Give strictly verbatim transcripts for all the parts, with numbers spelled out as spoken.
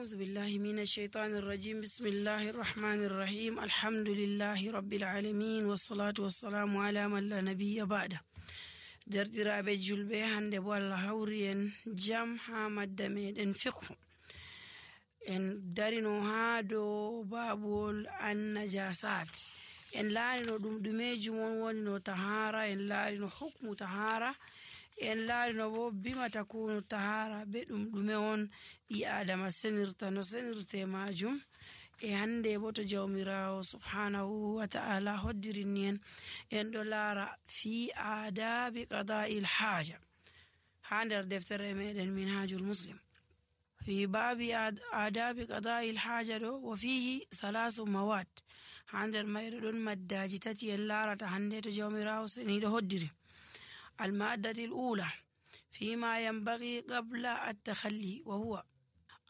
أعوذ بالله من الشيطان الرجيم بسم الله الرحمن الرحيم الحمد لله رب العالمين والصلاة والسلام على من لا نبي بعده. derdiraaɓe julɓe, hande bo Allah hawri en jam ha madda meɗen fiqhu. En darino ha dow babul annajasat. En laarino ɗum ɗumejum on woni no tahara, en laarino hukmu tahara, en laarino bo bima takunu tahara be ɗum ɗume on ɓi adama senirta no senirte majum. e hande bo to jawmirawo subhanahu wa ta'ala hoddirini en en ɗo laara fi adabi qada'il haja ha nder deftere meɗen minhajul muslim fi babi adabi qada'il haja ɗo wa fihi salasu mawad. ha nder mayɗo ɗon maddaji tati en laarata hande to jawmirawo seniɗo hoddiri. المادة الأولى فيما ينبغي قبل التخلي، وهو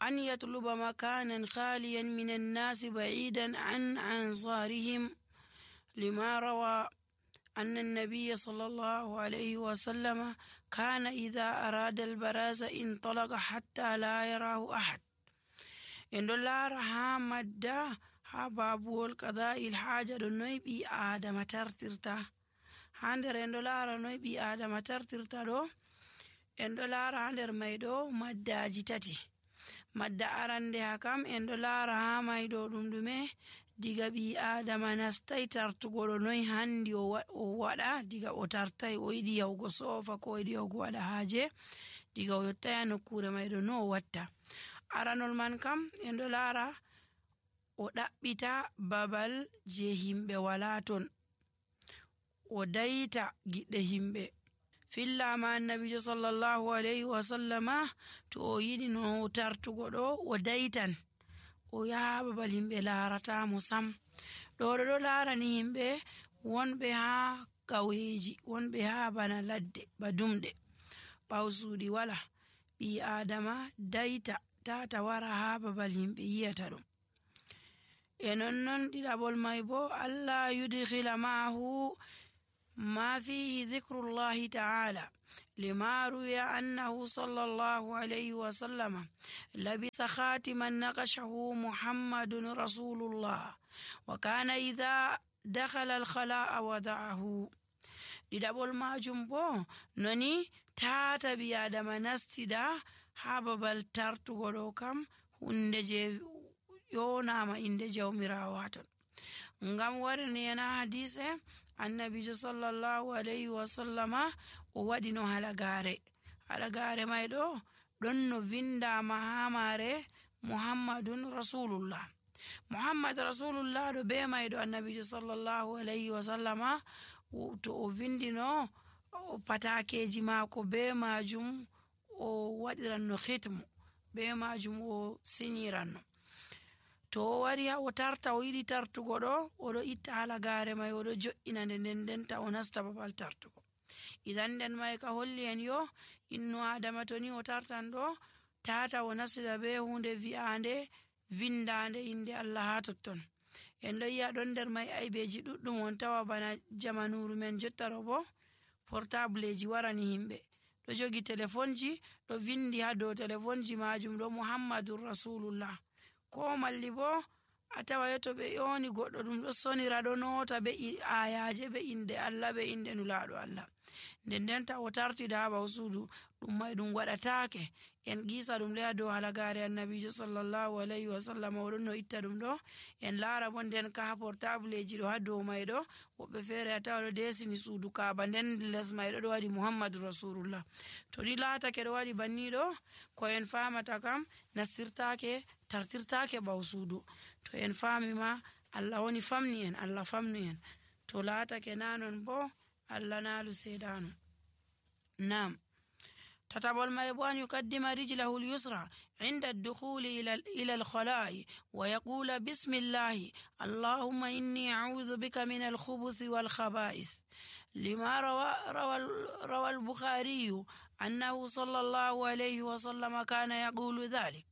أن يطلب مكانا خاليا من الناس بعيدا عن أنصارهم، لما روى أن النبي صلى الله عليه وسلم كان إذا أراد البراز انطلق حتى لا يراه أحد. إن دولار ها مدى ها بابول قضاء الحاجة نويبي آدم ترترتا. hander en ɗo laara noy ɓi adama tartirta ɗo. en ɗo laara ha nder may ɗo maddaji tati. madda arande ha kam en ɗo laara ha may ɗo ɗum ɗume diga ɓi adama nastai tartugo ɗo noy handi o waɗa diga o tartai o yiɗi yahugo sofa ko o yiɗi yahugo waɗa haaje diga o yottaya nokkure may ɗo no o watta. aranol man kam en ɗo laara o ɗaɓɓita babal je himɓe wala ton, o dayta giɗɗe himɓe. fillama annabijo sallallahu alayhi wa sallama to o yiɗi no tartugo ɗo o daytan o yaha babal himɓe laaratamo sam. ɗo ɗo ɗo laarani himɓe wonɓe ha ƙauyeji, wonɓe ha bana ladde ba dumɗe ɓaw suuɗi wala. ɓi adama dayta tata wara ha babal himɓe yiyata ɗum. e nonnon ɗiɗaɓol may bo Allah yudkhila ma'ahu ما فيه ذكر الله تعالى، لما روي أنه صلى الله عليه وسلم لبس خاتما نقشه محمد رسول الله، وكان إذا دخل الخلاء وضعه. ɗiɗaɓol majum bo noni tata bi adama nastida ha babal tartugo ɗo kam hunde je yonama inde jawmirawo haton. ngam warini yana hadise annabijo sallallahu alayhi wa sallama o waɗi no halagare. halagare may ɗo ɗon no vindama ha mare muhammadun rasulullah. muhammad rasulullah ɗo be may ɗo annabijo sallallahu alayhi wa sallama to o vindino patakeji mako be majum o waɗiranno hitmu be majum o siniranno. to o wari ha o tarta o yiɗi tartugo ɗo oɗo itta halagare may oɗo jo'ina nde nden ndenta o nasta babal tartugo. idan nden may ka holli en yo inno adama to ni o tartan ɗo tata o nasida be hunde vi'ande vindande inde Allah ha totton. en ɗo yi'a ɗon nder may aybeji ɗuɗɗum on tawa bana jamanuru men jotta ɗo bo portableji warani himɓe ɗo jogi telefonji ɗo vindi ha dow telefonji majum ɗo muhammadur rasulullah. ko malli bo a tawa to ɓe yoni goɗɗo ɗum ɗo sonira ɗo nota be ayaje be inde Allah be inde nulaɗo Allah. nden ndenta o tartida ha ɓaw suudu ɗum may ɗum waɗatake. en gisa ɗum leya dow halagare annabijo sallallahu alayhi wa sallam oɗon no itta ɗum ɗo. en laara bo nden ka ha portableji ɗo ha dow may ɗo woɓɓe feere a tawa ɗo desini suudu kaaba nden les may ɗo ɗo waɗi muhammadu rasulullah. to ni laatake ɗo waɗi banni ɗo ko en famata kam nastirtake tartirtake ɓaw suudu. to en fami ma Allah woni famni en, Allah famni en. to laatake nanon bo Allah naalu seedano. nam تتبع ما أن يقدم رجله اليسرى عند الدخول إلى الخلاء ويقول بسم الله اللهم إني أعوذ بك من الخبث والخبائث، لما روى, روى, روى البخاري أنه صلى الله عليه وسلم كان يقول ذلك.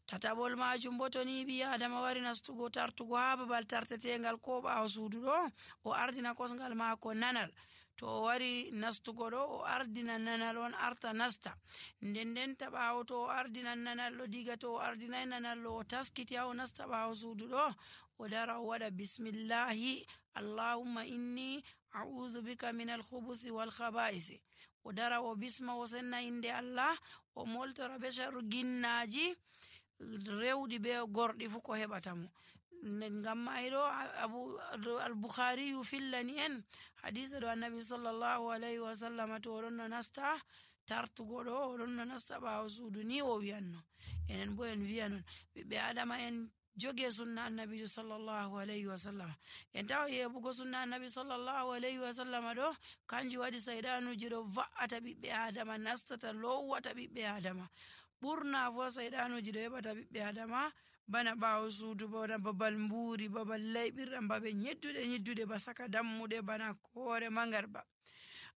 tatabol majum bo to ni bi adama wari nastugo tartugo ha babal tartetengal ko ɓawo suudu ɗo o ardina kosngal maako nanal. to o wari nastugo ɗo o ardina nanal on arta nasta, nden ndenta ɓaawo to o ardinan nanal ɗo, diga to o ardinai nanal ɗo o taskiti ha o nasta ɓaawo suudu ɗo, o dara o waɗa bismillahi allahumma inni a'udhu bika min alkhubusi wal khaba'isi, o dara o bisma o senna inde Allah, o moltora be sharru ginnaji rewɗi be gorɗi fu ko heɓata mo. ngam mai ɗo abu al-Bukhari yu fillani en hadisa ɗo annabi sallallahu alayhi wa sallam to oɗon no nasta tartugo ɗo oɗon no nasta ɓaawo suudu ni o wiyanno. enen bo en wiya non ɓiɓɓe adama en joge sunna annabijo sallallahu alayhi wa sallam, en tawa yeɓugo sunna annabi sallallahu alayhi wa sallam ɗo kanjum waɗi sayɗanuji ɗo va'ata ɓiɓɓe adama, nastata lowata ɓiɓɓe adama. ɓurna fo sayɗanuji ɗo heɓata ɓiɓɓe adama bana ɓaawo suudu, bana babal mburi, babal layɓirɗam, babe nyedduɗe nyedduɗe ba saka dammuɗe, bana hoore mangarba.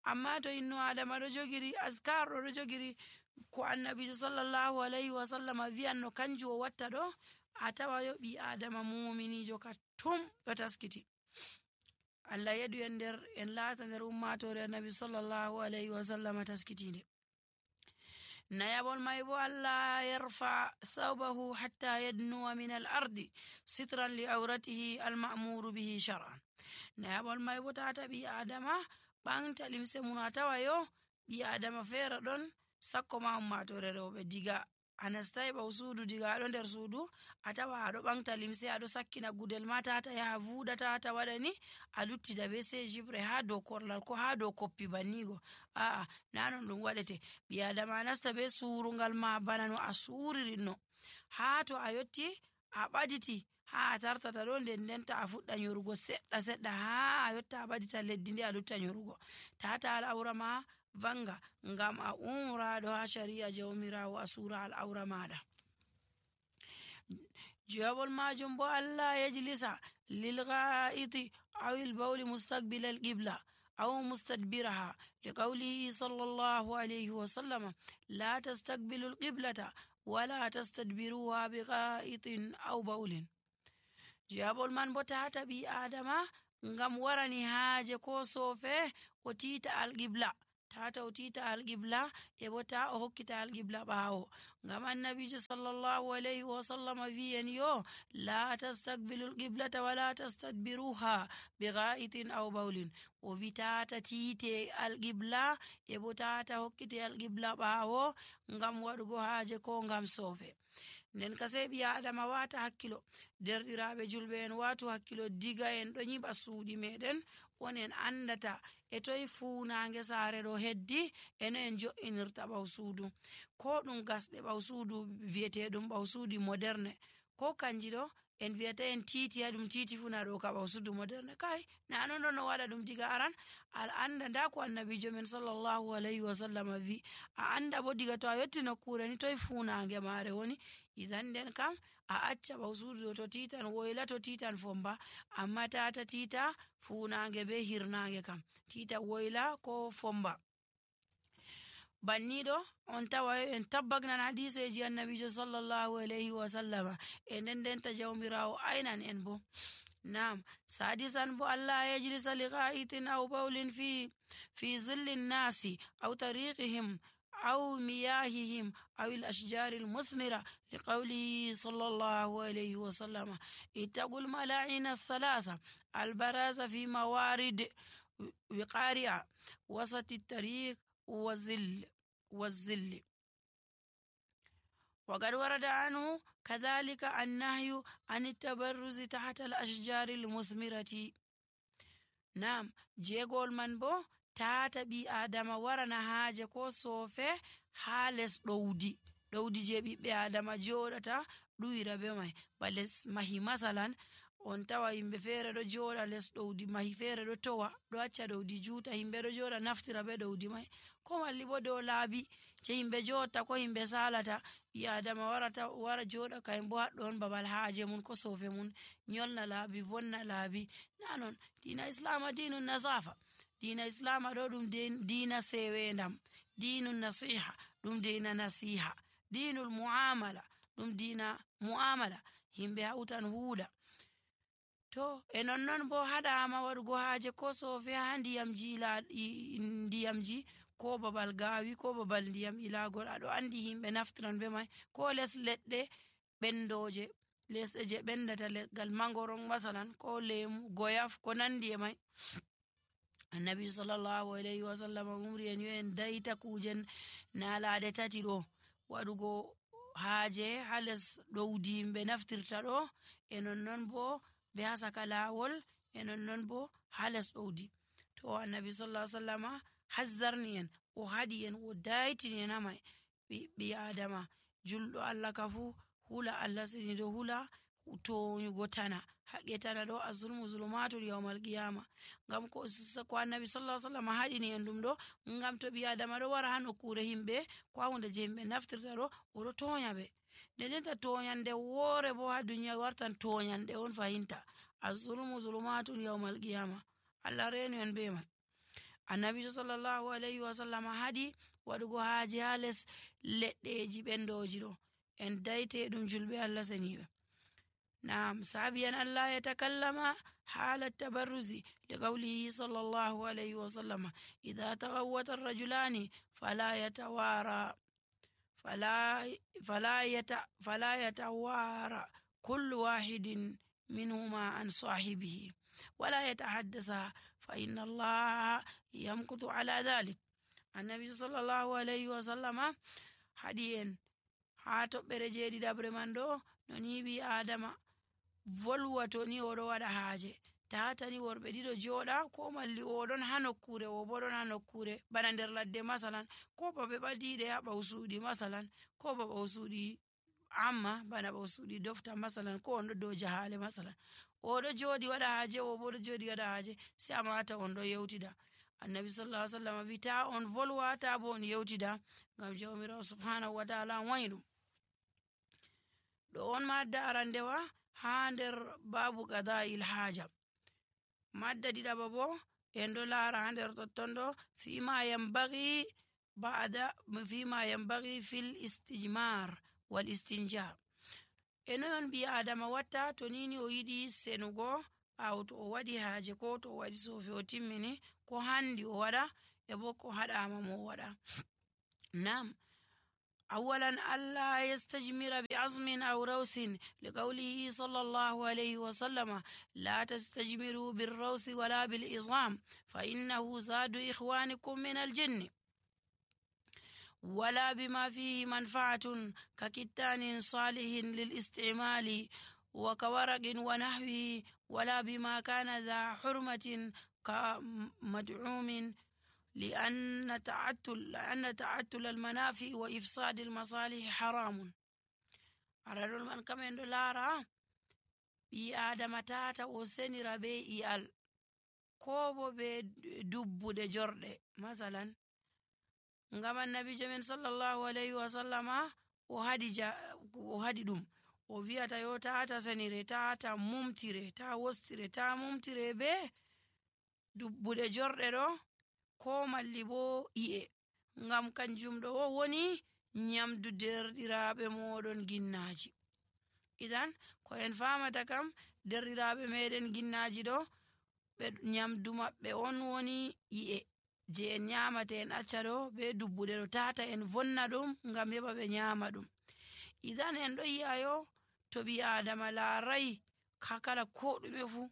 amma to inno adama ɗo jogiri askar ɗo ɗo jogiri ko annabijo sallallahu alayhi wa sallam wiyanno kanjum o watta ɗo, a tawa yo ɓi adama muminijo ka tum ɗo taskiti. Allah yeɗu en nder en laata nder ummatore annabi sallallahu alayhi wa sallam taskitinde. nayabol may bo Allah yarfa thawbahu hatta yadnuwa min al ardi sitran li awratihi al ma'muru bihi shar'an. nayabol may bo tata ɓi adama ɓanta limse mun, a tawa yo ɓi adama feere ɗon sakko ma ummatore rewɓe, diga a nastai ɓaw suudu, diga aɗo nder suudu a tawa aɗo ɓanta limse, aɗo sakkina gudel ma tata yaha vuuɗa, tata waɗani a luttida be se jibre ha dow korlal ko ha dow koppi bannigo. aa na non ɗum waɗete. ɓi adama nasta be surungal ma bana no a suririnno, ha to a yotti a ɓaditi ha a tartata ɗo, nden ndenta a fuɗɗa nyorugo seɗɗa seɗɗa ha a yotta a ɓadita leddi nde a lutta nyorugo. tata al'aura ma vanga ngam a umraɗo ha shari'a jawmirawo a sura al'aura maɗa. jawabol majum bo Allah yajlisa lil gha'iti aw al bawli mustaqbil al qibla aw mustadbiraha liqawlihi sallallahu alayhi wa sallam la tastaqbilu al qiblata wala tastadbiruha bi gha'itin aw bawlin. jawabol man bo tata ɓi adama ngam warani haaje ko sofe o tita alqibla, tata o tita alqibla e bo ta o hokkita alqibla ɓaawo, ngam annabijo sallallahu alayhi wa sallam wiyen yo la tastaqbilu alqiblata wala tastadbiruha bi gha'itin aw bawlin, o wi tata tite alqibla e bo tata hokkite alqibla ɓaawo ngam waɗugo haaje ko ngam sofe. nden kase ɓi adama wata hakkilo, derɗiraɓe julɓe en watu hakkilo, diga en ɗo nyiɓa suuɗi meɗen on en andata e toye funange saare ɗo heddi eno en jo'inirta ɓaw suudu, ko ɗum gasɗe ɓaw suudu viyeteɗum ɓaw suudu moderne, ko kanji ɗo en wiyata en titi ha ɗum titi funa ɗo ka ɓaw suudu moderne. kai na non ɗo no waɗa ɗum diga aran al anda nda ko annabijo men sallallahu alayhi wa sallam wi, a anda bo diga to a yotti nokkure ni toye funange mare woni, idan nden kam a acca ɓaw suudu to titan woyla, to titan fomba, amma tata tita funange be hirnange kam, tita woyla ko fomba. banniɗo on tawa en tabbagnan hadiseji annabijo sallallahu alayhi wa sallam e nden ndenta jawmirawo aynan en bo. nam sadisan bo Allah yajlisa li gha'itin aw bawlin fi fi zilli nnasi aw tariqihim aw miyahihim aw al ashjar al musmira liqawlihi sallallahu alayhi wa sallam ittaqul mala'ina thalatha al baraza fi mawarid wiqari'a wasati at-tariq وزل والزل. وقد ورد عنه كذلك النهي عن التبرز تحت الأشجار المثمرة. نعم جيغول من بو تاتا بي آدم ورنا هاجة كو صوفي حالس دودي دودي جيبي بي آدم جورتا دويرا بمي بلس مهي مثلا on tawa yimɓe feere ɗo jooɗa les ɗowdi mahi feere ɗo towa ɗo acca ɗowdi juuta, yimɓe ɗo jooɗa naftira be ɗowdi mai, ko malli bo dow laabi je yimɓe joɗta ko yimɓe salata, ɓi adama warata wara jooɗa kayum bo haɗɗo on babal haaje mun ko sofe mun, nyolna laabi vonna laabi. na non dina islama dinu nasafa, dina islama ɗo ɗum dina sewendam, dinu nasiha ɗum dina nasiha, dinul muamala ɗum dina muamala, yimɓe hawtan huuɗa. to e nonnon bo haɗama waɗugo haaje ko sofe ha ndiyam jila ndiyamji ko babal gawi ko babal ndiyam ilagol aɗo andi himɓe naftiran be mai ko les leɗɗe ɓendoje lesɗe je ɓendata leggal mangoron masalan ko lemu goyaf ko nandi e mai annabi sallallahu alayhi wa sallam umri en yo en dayta kujen nalaɗe tati ɗo waɗugo haaje ha les ɗowdi yimɓe naftirta ɗo e nonnon bo be ha saka lawol e nonnon bo ha les ɗowdi to annabi sallallahu alaihi wasallama hazzarni en o haɗi en o daytini en hamai ɓi adama julɗo Allah ka fu hula Allah senido hula toñugo tana haqqe tana ɗo azulmu zulumatul yawmal qiyama ngam ko ko annabi sallallahu alaihi wasallam haɗini en ɗum ɗo ngam to ɓi adama ɗo wara ha nokkure himɓe ko ha hunde je himɓe naftirta ɗo oɗo toña ɓe ndendenta toñande woore bo ha duniya wartan toñande on fahinta azulmu zulumatul yawmal qiyama Allah renu en be mai annabi sallallahu alaihi wasallam haɗi waɗugo haaje ha les leɗɗeji ɓendoji ɗo en dayte ɗum julɓe Allah seniɓe نعم سابيا ألا يتكلم حال التبرز لقوله صلى الله عليه وسلم إذا تغوت الرجلان فلا يتوارى فلا فلا يت فلا يتوارى كل واحد منهما عن صاحبه ولا يتحدث فإن الله يمكث على ذلك النبي صلى الله عليه وسلم حديث هاتو برجيدي دبر مندو نونيبي آدم volwato ni oɗo waɗa haaje tatani worɓe ɗiɗo jooɗa ko malli oɗon ha nokkure o bo ɗon ha nokkure bana nder ladde masalan ko ba ɓe ɓadiɗe ha ɓawsuɗi masalan ko ba ɓawsuɗi amma bana ɓawsuɗi dofta masalan ko on ɗo dow jahale masalan oɗo jooɗi waɗa haaje o bo ɗo jooɗi waɗa haaje sai a mata on ɗo yewtida annabi sallallahu alaihi wasallam wi ta on volwa ta bo on yewtida ngam jawmirawo subhanahu wa ta'ala wayi ɗum ɗo on madda arandewa ha nder babu qada'il haja madda ɗiɗaɓa bo en ɗo laara ha nder totton ɗo fima yambagi ba'da fima yambagi fil istijmar wal istinja e noyon ɓi adama watta to nini o yiɗi senugo ɓawo to o waɗi haaje ko to o waɗi sofi o timmini ko handi o waɗa e bo ko haɗama mo o waɗa nam أولا ألا يستجمر بعظم أو روث لقوله صلى الله عليه وسلم لا تستجمروا بالروث ولا بالعظام فإنه زاد إخوانكم من الجن ولا بما فيه منفعة ككتان صالح للاستعمال وكورق ونحوه ولا بما كان ذا حرمة كمدعوم لأن تعتل لأن تعتل المنافع وإفساد المصالح حرام أرادون من كمن دولارا بي آدم تاتا وسني ربي إيال كوبو بي دبو دي جرد مثلا ngama nabi jamin sallallahu alaihi wasallam o hadi ja o hadi dum o wi'ata yo tata senire tata mumtire ta wostire ta mumtire be dubbude jorde do ko malli bo iye ngam kanjum ɗo o woni nyamdu derɗiraɓe moɗon ginnaji idan ko en famata kam derɗiraɓe meɗen ginnaji ɗo ɓe nyamdu maɓɓe on woni iye je en nyamata en acca ɗo be dubbude ɗo tata en vonna ɗum ngam heɓa ɓe nyama ɗum idan en ɗo yi'ayo to ɓi adama laarai kakala ko ɗume fu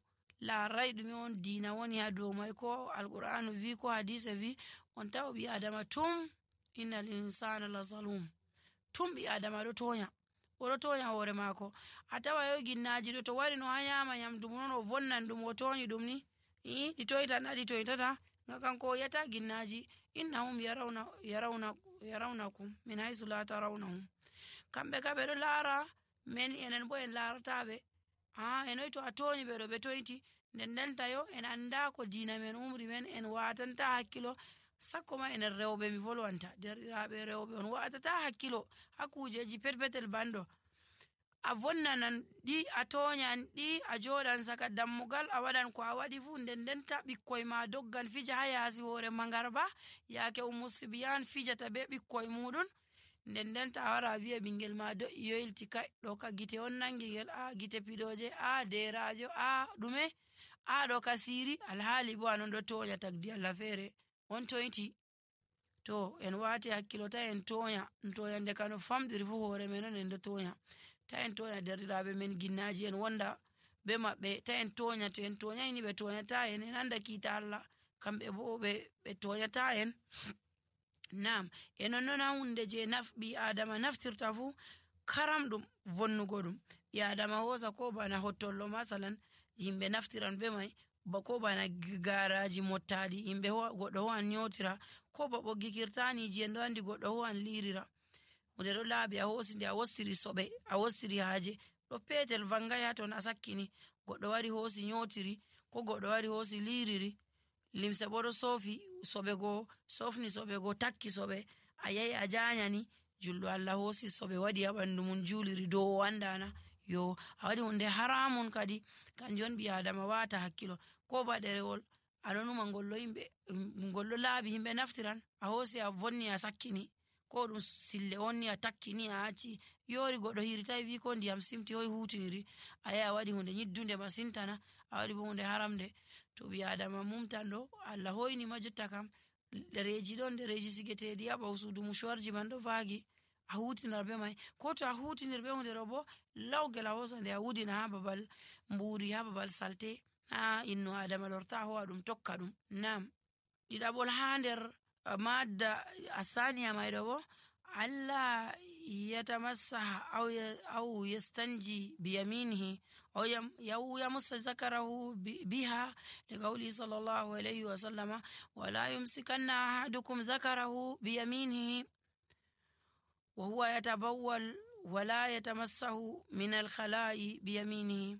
laarai ɗume on diina woni ha dow mai ko alqur'anu vi ko hadise vi on tawa ɓi adama tum innal insana la zalum tum ɓi adama ɗo toña oɗo toña hoore maako a tawa yo ginnaji ɗo to wari no ha nyama nyamdu non o vonnan ɗum o toñi ɗum ni i ɗi toytan ɗi toytata nga kanko o yata ginnaji innahum yarawna yarawna yarawnakum min haysu la tarawnahum kamɓe ka ɓe ɗo laara men enen bo en laarataɓe ha enoy to a toñi ɓe ɗo ɓe toyti nden ndenta yo en anda ko diina men umri men en watanta hakkilo sakko ma enen rewɓe mi volwanta derɗiraɓe rewɓe on watata hakkilo ha kujeji petpetel banɗo a vonnanan ɗi a toñan ɗi a joɗan saka dammugal a waɗan ko a waɗi fu nden ndenta ɓikkoy ma doggan fija ha yaasi hoore mangarba yaake ummu sibiyan fijata be ɓikkoy muɗum nden nden ta wara wi'a ɓingel ma do'i yoylti kai ɗo ka gite on nangi ngel, a gite piɗoje, a derajo, a ɗume, a ɗo ka siri, alhaali bo anon ɗo tonya tagdi Allah feere on toyti. To en wati hakkilo ta en tonya tonya nde kano famɗiri fu hoore men on en ɗo tonya. Ta en tonya derɗiraɓe men ginnaji en wonda be maɓɓe, ta en tonya, to en tonyayni ɓe tonyata en en anda kiita Allah, kamɓe bo ɓe ɓe tonyata en. Nam e non noon ha hunde je naf ɓi adama naftirta fu karamɗum vonnugo ɗum. ɓi adama hosa ko bana hottollo masalan yimɓe naftiran be mai, ba ko bana garaji mottaɗi yimɓe goɗɗo ho'an nyotira, ko ba ɓoggi kirtaniji en ɗo andi goɗɗo ho'an lirira. hunde ɗo laaɓi a hosi nde a wostiri soɓe, a wostiri haaje ɗo petel vangai ha ton a sakkini, goɗɗo wari hosi nyotiri, ko goɗɗo wari hosi liriri, limse bo ɗo sofi soɓe go sofni soɓe go takki soɓe, a yahi a janyani, julɗo Allah hosi soɓe waɗi ha ɓandu mum juliri dow o andana, yo a waɗi hunde haramun kadi. kanjum on ɓi adama wata hakkilo. ko ba ɗerewol anonuma ngollo yimɓe ngollo laaɓi yimɓe naftiran, a hosi a vonni a sakkini, ko ɗum sille onni a takkini a acci, yori goɗɗo hiritai wi ko ndiyam simti hoy hutiniri, a yahi a waɗi hunde nyiddunde masintana, a waɗi bo hunde haramde. to ɓi adama mumtan ɗo Allah hoyni ma jotta kam ɗereji ɗon, ɗereji sigeteɗi ha ɓawo sudu mushuwarji man ɗo vagi, a hutinar be mai, ko to a hutinir be hunde ɗo bo lawgel a hosa nde a wudina ha babal mburi, ha babal salte, ha inno adama lorta ho'a ɗum tokka ɗum. Nam ɗiɗaɓol ha nder madda asaniya mai ɗo bo Allah yatamassaha aw aw yastanji biyaminihi aw yamussa zakarahu biha liqawli sallallahu alayhi wa sallama wala yumsikanna ahadukum zakarahu biyaminihi wa huwa yatabawwal wala yatamassahu min alkhala'i biyaminihi.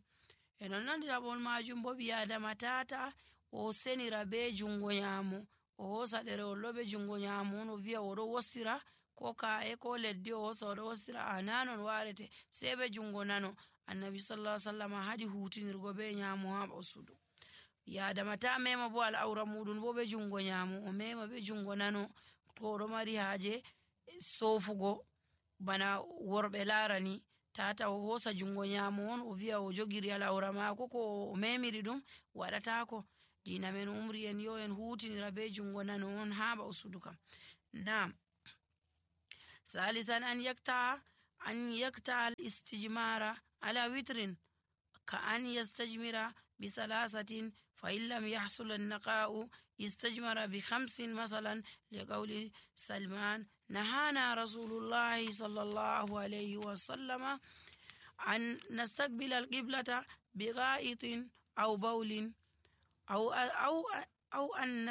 e non non ɗiɗaɓol majum bo ɓi adama tata o senira be jungo nyamo, o hosa ɗerewol ɗo be jungo nyamo on o wi'a oɗo wostira, ko ka'e ko leddi o hosa oɗo wostira, a nanon warete sei be jungo nano. annabi sallallahu alaihi wasallam haɗi hutinirgo be nyamo ha ɓawo sudu. ɓi adama ta mema bo al'aura muɗum bo be jungo nyamo, o mema be jungo nano to oɗo mari haaje sofugo bana worɓe larani, tata o hosa jungo nyamo on o wi'a o jogiri al'aura mako ko o memiri ɗum waɗatako. dina men umri en yo en hutinira be jungo nano on ha ɓawo sudu kam. Nam salisan an yakta an yakta al istijmara ala witrin ka an yastajmira bi salasatin fa in lam yahsul an naqa'u istajmara bi khamsin masalan liqawli Salman nahana rasulullahi sallallahu alayhi wa sallama an nastaqbila al qiblata bi gha'itin aw bawlin أو أو أو أن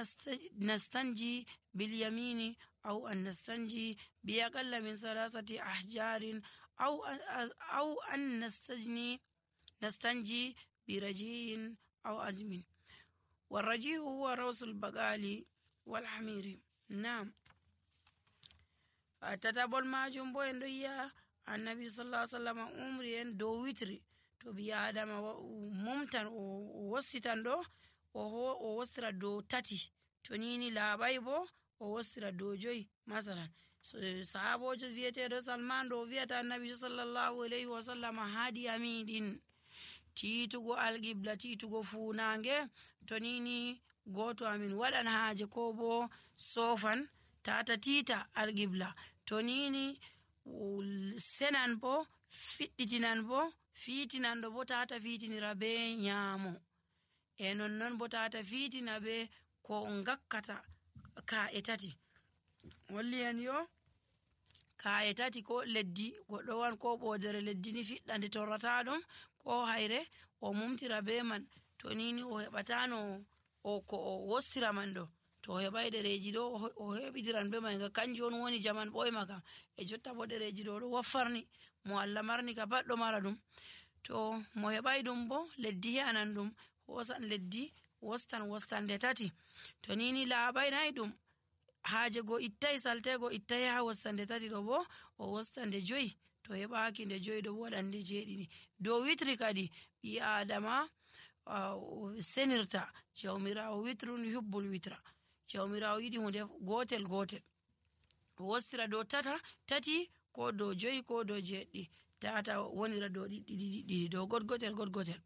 نستنجي باليمين أو أن نستنجي بأقل من ثلاثة أحجار أو أو أن نستجني نستنجي برجيء أو أزم. والرجيء هو رأس البقال والحمير. نعم تتابع ما جنبو إندويا النبي صلى الله عليه وسلم عمري دو ويتري to ɓi adama mumtan o wossitan ɗo o wostira dow tati, to nini laaɓai bo o wostira dow joyi. masalan sahabojo wiyeteɗo Salman ɗo wiyata annabi sallallahu alayhi wa sallam haɗi amiɗin titugo alqibla, titugo funange, to nini goto amin waɗan haaje ko bo sofan tata tita alqibla, to nini senan bo fiɗɗitinan bo fitinan ɗo bo tata fitinira be nyamo, e non non bo tata fitina be ko ngakkata ka'e tati. holli en yo ka'e tati ko leddi goɗɗo wan ko ɓodere leddi ni fiɗɗa nde torrata ɗum ko hayre o mumtira be man, to nini o heɓatano o ko o wostira man ɗo, to o heɓai ɗereji ɗo o heɓidiran be mai ga kanjum on woni jaman ɓoyma kam. e jotta bo ɗereji ɗo ɗo waffarni mo Allah marni ka pat ɗo mara ɗum, to mo heɓai ɗum bo leddi he'anan ɗum, hosan leddi wostan wostande tati, to nini laaɓai nayi ɗum haaje go ittai saltego ittai ha wostande tati ɗo bo o wostande joyi, to heɓaki nde joyi ɗo bo waɗande jeeɗiɗi. dow witri kadi ɓi adama uh, senirta jawmirawo witrun hubbul witra, jawmirawo yiɗi hunde gotel gotel, o wostira dow tata tati ko dow joyi ko dow jeɗɗi tata wonira dow ɗiɗi ɗiɗi dow godgotel godgotel.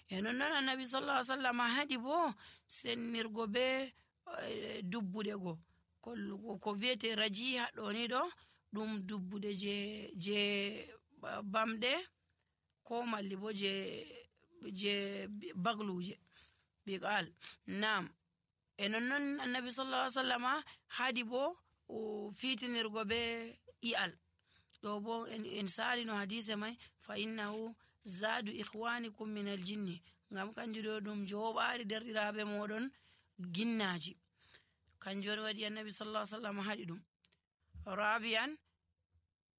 e nonnon annabi sallallahu alaihi wasallam haɗi bo sennirgo be dubbude go ko wiyete rajiha ɗo ni ɗo ɗum dubbude je je bamɗe ko malli bo je je bagluje biqal nam. e nonnon annabi sallallahu alaihi wasallam haɗi bo fitinirgo be i'al ɗo bo en sali no hadise mai fa innahu zadu ikhwanikum min aljinni ngam kanjum ɗo ɗum joɓari derɗiraɓe moɗon ginnaji kanjum waɗi annabi sallallahu alaihi wasallam haɗi ɗum. rabi'an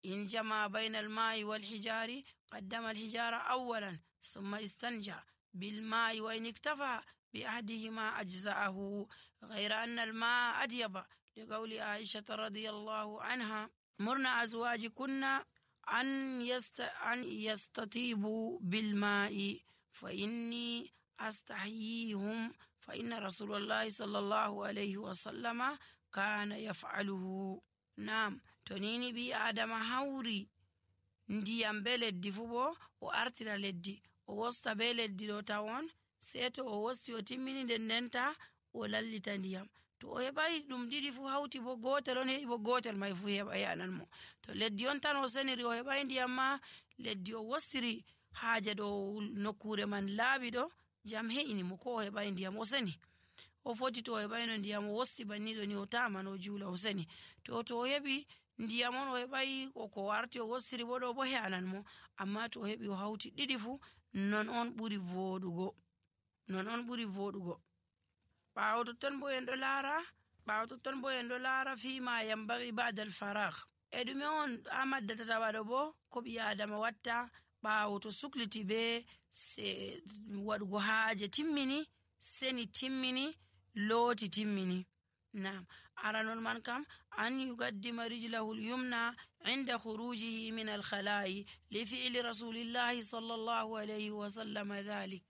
in jama bayna alma'i wal hijari qaddama alhijara awwalan thumma istanja بالماء وإن اكتفى بأحدهما أجزاءه غير أن الماء أديب لقول عائشة رضي الله عنها مرنا أزواجكن أن, يست... أن يستطيبوا بالماء فإني أستحييهم فإن رسول الله صلى الله عليه وسلم كان يفعله. نعم تنيني بي آدم هوري ndiyam be leddi fu bo o artira leddi o wosta be leddi ɗo tawon sei to o wosti o timmini nden ndenta o lallita ndiyam to o heɓai ɗum ɗiɗi fu hawti bo gotel on heɓi bo gotel mai fu heɓa yanan mo. to leddi on tan o seniri o heɓai ndiyam ma leddi o wostiri haaje ɗo nokkure man laaɓi ɗo jam he'ini mo ko o heɓai ndiyam o seni o foti to o heɓaino ndiyam o wosti banniɗo ni o taman o juula o seni to to o heɓi ndiyam on o heɓai ko warti o wostiri bo ɗo bo he'anan mo amma to o heɓi o hawti ɗiɗi fu non on ɓuri voɗugo non on ɓuri voɗugo. ɓawo totton bo en ɗo laara ɓawo totton bo en ɗo laara fima yambagi ba'da al-faragh e ɗume on ha maddata waɗo bo ko ɓi adama watta ɓawo to sukliti be se waɗugo haaje timmini seni timmini looti timmini. نعم أرى من كم أن يقدم رجله اليمنى عند خروجه من الخلاء لفعل رسول الله صلى الله عليه وسلم ذلك.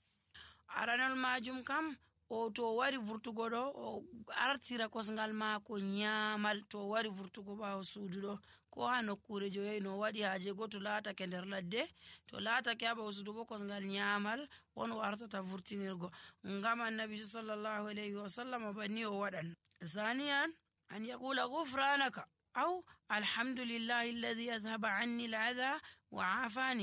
أرى الماجم كم o to wari vurtugo ɗo o artira kosngal maako nyamal to wari vurtugo ɓawo suudu ɗo ko ha nokkure joyi no waɗi haaje go to laatake nder ladde to laatake ha ɓawo suudu bo kosngal nyamal won o artata vurtinirgo ngam annabi sallallahu alayhi wa sallam banni o waɗan. ثانيا أن يقول غفرانك أو الحمد لله الذي أذهب عني الأذى وعافاني